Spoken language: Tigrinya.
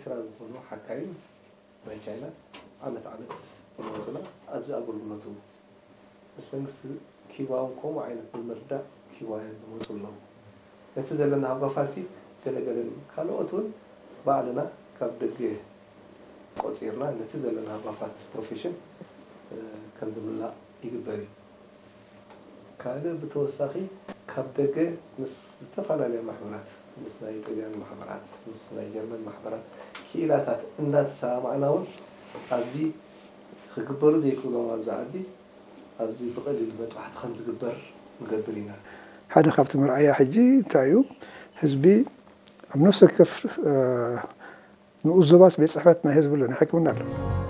ኤርትራ ዝኾኑ ሓካይም ናይ ቻይና ዓመት ዓመት ይመፁና። ኣብዚ ኣገልግሎቱ ምስ መንግስቲ ኪባውን ከምኡ ዓይነት ብምርዳእ ኪባውያን ዝመፁ ኣለዉ። ነቲ ዘለና ሃጓፋት ሲ ገለገለን ካልኦት እውን ባዕልና ካብ ደገ ቆፂርና ነቲ ዘለና ሃጓፋት ፕሮፌሽን ከም ዝምላእ ይግበር እዩ። ካልእ ብተወሳኺ ካብ ደገ ምስ ዝተፈላለያ ማሕበራት ምስ ናይ ጥልያን ማሕበራት ምስ ናይ ጀርመን ማሕበራት ክኢላታት እናተሰማማዕና እውን ኣብዚ ክግበሩ ዘይክእሎም ኣብዚ ዓዲ ኣብዚ ብቐሊሉ መጥባሕቲ ከም ዝግበር ንገብር ኢና። ሓደ ካብቲ መርኣያ ሕጂ እንታይ እዩ? ህዝቢ ኣብ ነፍሲ ወከፍ ንኡስ ዞባስ ቤት ፅሕፈት ናይ ህዝቢ ኣሎ፣ ናይ ሕክምና ኣሎ።